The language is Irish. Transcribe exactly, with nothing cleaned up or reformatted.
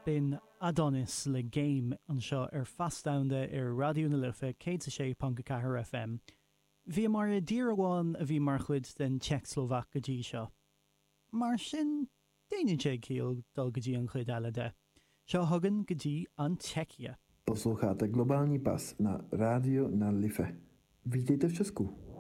B'in Adonis le Game anseo ar Feas Domhanda ar Raidió na Life céad a sé ponc a ceathair FM. Bhíomar i dtír amháin a bhí mar chuid den tSeicslóvaic go dtí seo. Mar sin déanann sé ciall dul go dtí an chuid eile de. Seo chugainn go dtí an tSeicia. Posloucháte Globální pas na Rádiu na Life. Vítejte v Česku.